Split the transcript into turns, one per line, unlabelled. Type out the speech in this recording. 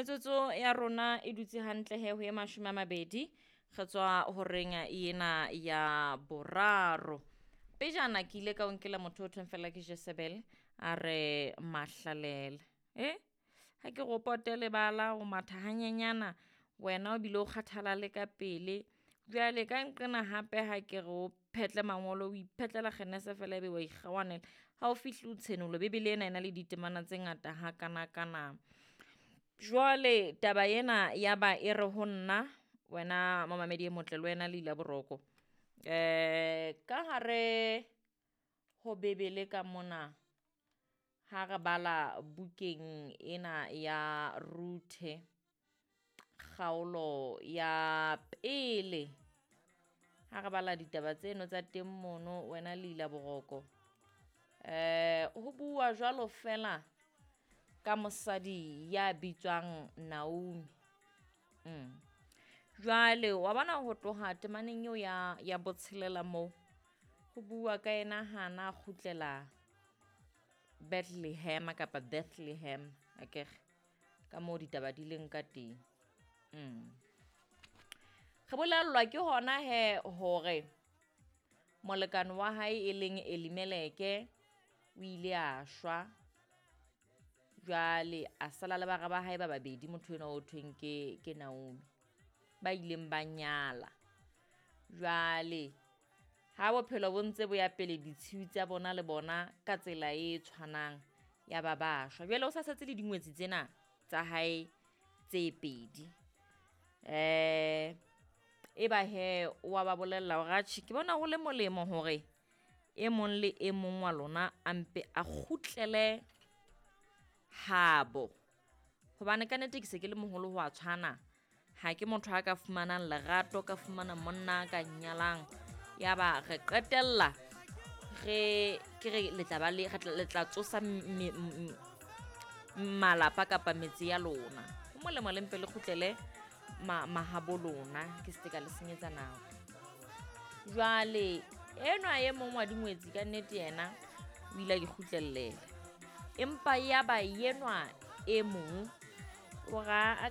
Metsotso ya rona e dutse hantle he ho ye 20 re tswa horeng ena ya boraro. Pejana ke ile ka o nkela motho o thweng fela ke Jezebel a re mahlalela. Ha ke go pote lebala o matha hanyenyana wena o bile o kgathala le ka pele. Jwale ka nqena hape ha ke re o phetle mangolo o iphetlela kgenese fela ebe wa ikgawanela. Ha o fihle o tshenolo Bebele ena e na le ditemana tse ngata hakanakana. Jwale taba ena ya ba e re ho nna wena momamedi e motle le wena le ila boroko. Ka hare ho Bebele ka mona ha re bala bukeng ena ya Ruthe kgaolo ya pele ha re bala ditaba tseno tsa teng mono wena le ila boroko. Ho bua jwalo fela ka mosadi ya bitswang Naomi. Jwale wa bona ho tloha temaneng eo ya botshelela moo ho bua ka yena hana kgutlela Bethlehem kapa Bethlehem akere ka moo ditaba di leng ka teng. Re bolellwa ke hona he hore molekane wa hae e leng Elimeleke o ile a shwa. Jwale a sala le bara ba hae ba babedi motho enwa o thweng ke Naomi ba ileng ba nyala. Jwale ha bophelo bo ntse bo ya pele ditshiu tsa bona le bona ka tsela e tshwanang ya ba ba shwa. Jwale o sa setse le dingwetsi tsena tsa hae tse pedi. E ba he wa ba bolella hore atjhe ke bona ho le molemo hore e mong le e mong wa lona a mpe a kgutlele habo. Hobane ka nnete ke se ke le moholo ho a tshwana. Ha ke motho a ka fumanang lerato, ka fumana monna ka nyalang. Ya ba re qetella re ke re le tla ba le le tla tsosa malapa kapa metse ya lona. Ho molemo le mpe le kgutlele mahabo lona, ke se ka le senyetsa nako. Jwale enwa e mong wa dingwetsi ka nnete yena o ile a ikgutlelela. Empa ya ba enwa e mong o ra a ka